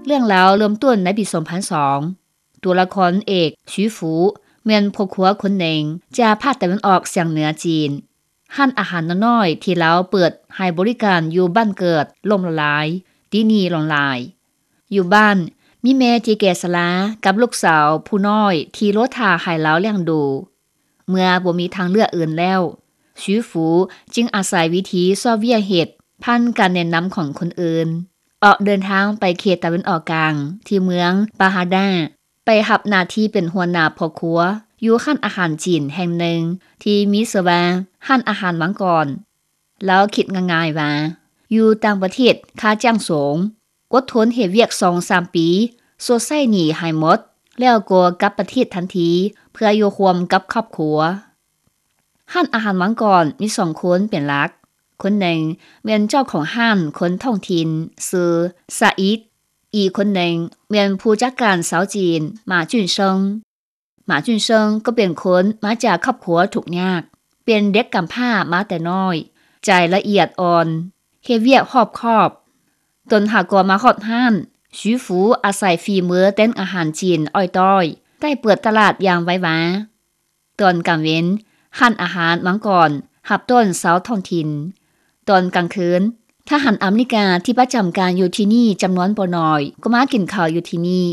ເລື່ອງລາວເລີ່ມຕົ້ນໃນປີສອງພັນສອງ ຕົວລະຄອນເອກ ຊຸຍຟູ ແມ່ນພໍ່ຄົວຄົນໜຶ່ງຈາກພາກຕາເວັນອອກສຽງເໜືອຈີນ. ຮ້ານອາຫານນ້ອຍໆທີ່ລາວເປີດໃຫ້ບໍລິການຢູ່ບ້ານເກີດລົ້ມລະລາຍ, ຕີໜີ່ຫຼອນລາຍ. ຢູ່ບ້ານມີແມ່ທີ່ແກ່ຊະລາກັບລູກສາວຜູ້ນ້ອຍທີ່ລໍຖ້າໃຫ້ລາວລ້ຽງດູ. ເມື່ອບໍ່ມີທາງເລືອກອື່ນແລ້ວ, ຊຸຍຟູຈຶ່ງອາໄສວິທີຊອກວຽກເຮັດຜ່ານການແນະນຳຂອງຄົນອື່ນ, ອອກເດີນທາງໄປເຂດຕາເວັນອອກກາງທີ່ເມືອງປາຮາດາ, ໄປຮັບໜ້າທີ່ເປັນຫົວໜ້າພໍ່ຄົວຢູ່ຮ້ານອາຫານຈີນແຫ່ງໜຶ່ງທີ່ມີຊື່ວ່າຮ້ານອາຫານມັງກອນ. ລາວຄິດງ່າຍໆວ່າ ຢູ່ຕ່າງປະເທດຄ່າຈ້າງສູງ, ອົດທົນເຮັດວຽກສອງສາມປີ, ຊົດໃຊ້ໜີ້ໃຫ້ໝົດ, ແລ້ວກໍກັບປະເທດທັນທີເພື່ອຢູ່ຮ່ວມກັບຄອບຄົວ. ຮ້ານອາຫານມັງກອນມີສອງຄົນເປັນຫຼັກ. ຄົນໜຶ່ງແມ່ນເຈົ້າຂອງຮ້ານຄົນທ້ອງຖິ່ນຊື່ຊາອິດ, ອີກຄົນໜຶ່ງແມ່ນຜູ້ຈັດການຊາວຈີນ ໝາຈຸນເຊິງ. ໝາຈຸນເຊິງກໍເປັນຄົນມາຈາກຄອບຄົວທຸກຍາກ, ເປັນເດັກກຳພ້າມາແຕ່ນ້ອຍ, ໃຈລະອຽດອ່ອນ, ເຮັດວຽກຮອບຄອບ. ຕົນຫາກໍມາຮອດຮ້ານ, ຊຸຍຟູອາໄສຝີມືແຕ່ງອາຫານຈີນອ້ອຍຕ້ອຍ, ໄດ້ເປີດຕະຫຼາດຢ່າງໄວວາ. ຕອນກາງເວັນ, ຮ້ານອາຫານມັງກອນຮັບຕ້ອນຊາວທ້ອງຖິ່ນ. ຕອນກາງຄືນ, ທະຫານອາເມລິກາທີ່ປະຈຳການຢູ່ທີ່ນີ້ຈຳນວນບໍ່ໜ້ອຍກໍມາກິນເຂົ້າຢູ່ທີ່ນີ້.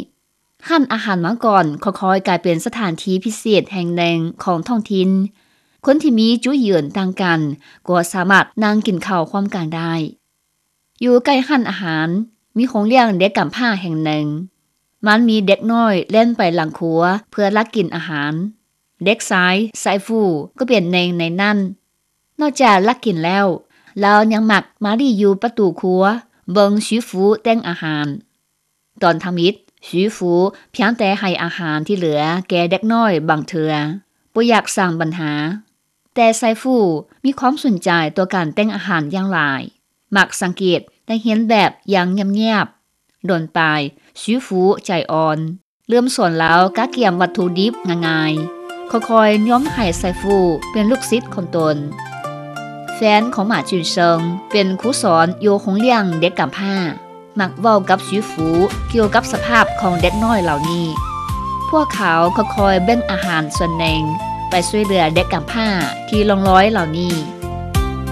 ຮ້ານອາຫານມັງກອນຄ່ອຍໆກາຍເປັນສະຖານທີ່ພິເສດແຫ່ງໜຶ່ງຂອງທ້ອງຖິ່ນ. ຄົນທີ່ມີຈຸດຢືນຕ່າງກັນກໍສາມາດນັ່ງກິນເຂົ້າຮ່ວມກັນໄດ້. ຢູ່ໃກ້ຮ້ານອາຫານ, ມີໂຮງລ້ຽງເດັກກຳພ້າແຫ່ງໜຶ່ງ. ມັນມີເດັກນ້ອຍແລ່ນໄປຫຼັງຄົວເພື່ອລັກກິນອາຫານ. ເດັກຊາຍ ໄຊຟູ ກໍເປັນໜຶ່ງໃນນັ້ນ. ນອກຈາກລັກກິນແລ້ວ, ລາວຍັງມັກມາລີ້ຢູ່ປະຕູຄົວ, ເບິ່ງຊຸຍຟູແຕ່ງອາຫານ. ຕອນທຳອິດ, ຊຸຍຟູພຽງແຕ່ໃຫ້ອາຫານທີ່ເຫຼືອແກ່ເດັກນ້ອຍບາງເທື່ອ, ບໍ່ຢາກສ້າງບັນຫາ. ແຕ່ໄຊຟູມີຄວາມສົນໃຈຕໍ່ການແຕ່ງອາຫານຢ່າງຫຼາຍ, ມັກສັງເກດນັກຮຽນແບບຢ່າງງຽບໆ. ດົນປາຍ, ຊຸຍຟູໃຈອ່ອນ, ເລີ່ມສອນລາວກະກຽມວັດຖຸດິບງ່າຍໆ, ຄ່ອຍໆໂນ້ມໃຫ້ໄຊຟູເປັນລູກສິດຂອງຕົນ. ແຟນຂອງໝາຈຸນເຊິງເປັນຄູສອນຢູ່ໂຮງລ້ຽງເດັກກຳພ້າ, ມັກເວົ້າກັບຊຸຍຟູກ່ຽວກັບສະພາບຂອງເດັກນ້ອຍເຫຼົ່ານີ້. ພວກເຂົາຄ່ອຍໆແບ່ງອາຫານສ່ວນໜຶ່ງໄປຊ່ວຍເຫຼືອເດັກກຳພ້າທີ່ລ່ອງລອຍເຫຼົ່ານີ້.